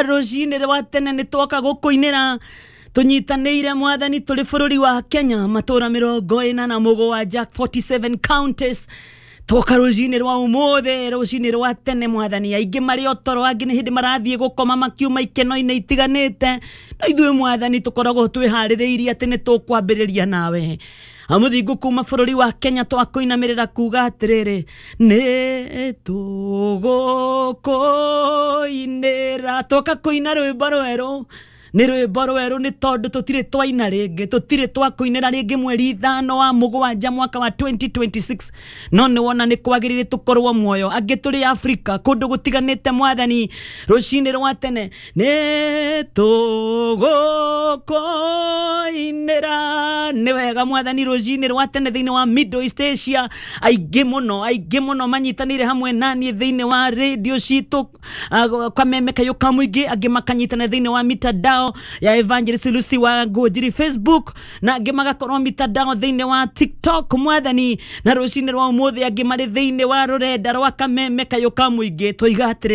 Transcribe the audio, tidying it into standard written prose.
Rũcinĩ rwa tene nĩ twoka gũkũinĩra tũnyitanĩire Mwathani tũrĩ bũrũri wa Kenya, matũra 47, 47 counties. Twoka rũcinĩ rwa ũmũthĩ, rũcinĩ rwa tene Mwathani. Aingĩ marĩ o toro, angĩ nĩ hĩndĩ marathiĩ gũkoma makiuma ikeno-inĩ itiganĩte, no ithuĩ Mwathani tũkoragwo twĩharĩrĩirie atĩ nĩ tũkwambĩrĩria nawe. Amũthingu kuma bũrũri wa Kenya twakũinamĩrĩra kuga atĩrĩrĩ, nĩ tũgũkũinĩra. Twoka kũina rwĩmbo rwerũ, nĩ rwĩmbo rwerũ nĩ tondũ tũtirĩ twaina rĩngĩ, tũtirĩ twakũinĩra rĩngĩ mweri 5 wa mũgwanja mwaka wa 2026, no nĩ wona nĩ kwagĩrĩire tũkorwo muoyo. Angĩ tũrĩ Afrika kũndũ gũtiganĩte Mwathani, rũcinĩ rwa tene nĩ tũgũkũinĩra. Nĩ wega Mwathani, rũcinĩ rwa tene thĩinĩ wa Middle East Asia aingĩ mũno, aingĩ mũno manyitanĩire hamwe naniĩ thĩinĩ wa radio citũ Kameme Kayũ ka Mũingĩ, angĩ makanyitana thĩinĩ wa mitandao ya Evangelist Lucy wa Ngũnjiri Facebook, na angĩ magakorwo mitandao thĩinĩ wa TikTok Mwathani, na rũcinĩ rwa ũmũthĩ angĩ marĩ thĩinĩ wa rũrenda rwa Kameme Kayũ ka Mũingĩ. Twoiga atĩrĩ